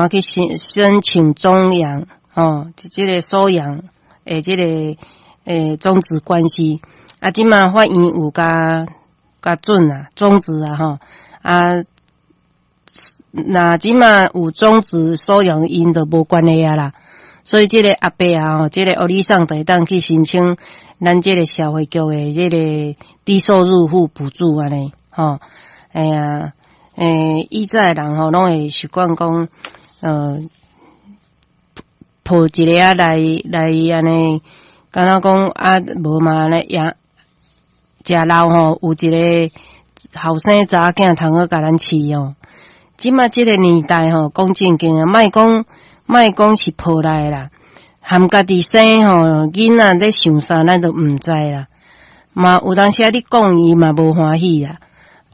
怎去申請終養吼，這个收養的這个終止關係。啊，這馬法院有共准啊，終止啊吼啊，若這馬有終止收養，𪜶就無關係啊啦。所以這个阿伯啊吼，這个予你送就會當去申請咱這个社會局的這个低收入戶補助按呢吼。哎呀，以早的人吼，攏會習慣講，抱一个仔來按呢，敢若講啊，無嘛按呢養，食老吼，有一个後生查某囝通好共咱飼哦。這馬這个年代吼，講正經啊，莫講是抱來的啦，含家己生吼，囡仔咧想啥，咱都毋知啦。嘛有當時啊，你講伊嘛無歡喜啦。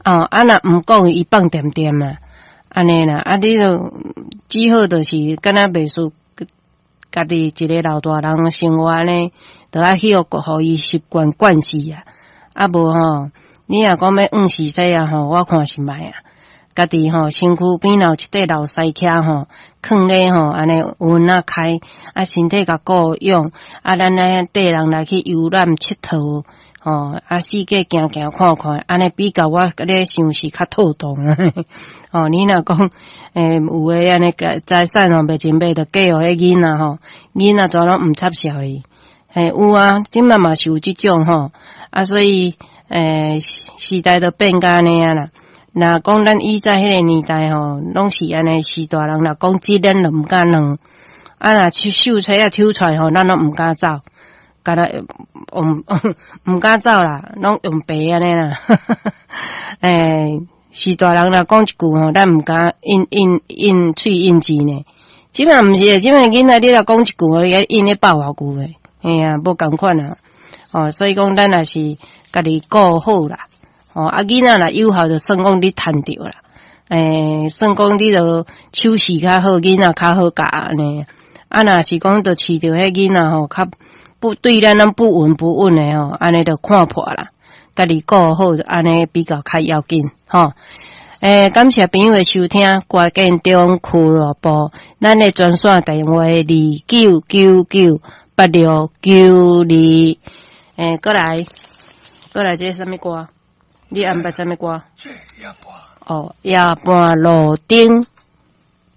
哦，啊若毋講伊放恬恬啊，按呢啦，啊你就只好就是敢若袂輸家己一个老大人生活按呢，就愛去予伊習慣慣勢啊。啊無吼，你若講欲放序細啊吼，我看是莫啊。家己吼身軀邊有一塊老師徛吼，囥咧吼，按呢溫仔開，啊身體共顧養，啊咱來綴人來去遊覽𨑨迌，吼啊四界行行看看，按呢比較我咧想是較妥當。吼，你若講有的按呢財產吼袂真買，就嫁予彼囡仔吼，囡仔全攏毋插潲伊。嘿，有啊，這馬嘛是有這種吼，啊所以時代都變甲按呢啊啦。若講咱以前彼个年代吼，攏是按呢，序大人若講這咱就毋敢囥。啊若秀才仔抽出來吼，咱攏毋敢走，敢若毋敢走啦，攏用爬按呢啦。序大人若講一句吼，咱毋敢應應應喙應舌呢。這馬毋是的，這馬囡仔你若講一句吼，伊應咧百外句的，嘿啊，無仝款啊。哦，所以講咱也是家己顧好啦。哦，啊，囡仔若有效，就算講你趁著啦。算講你著手勢較好，囡仔較好教按呢。啊，若是講著飼著彼囡仔吼，較不對咱攏不聞不問的吼，按呢就看破啦。家己顧好，按呢比較較要緊吼。感謝朋友的收聽，歌建中俱樂部，咱的專線電話29998692。過來，過來，這是啥物歌？你安排啥物歌？這夜半。哦，夜半路燈。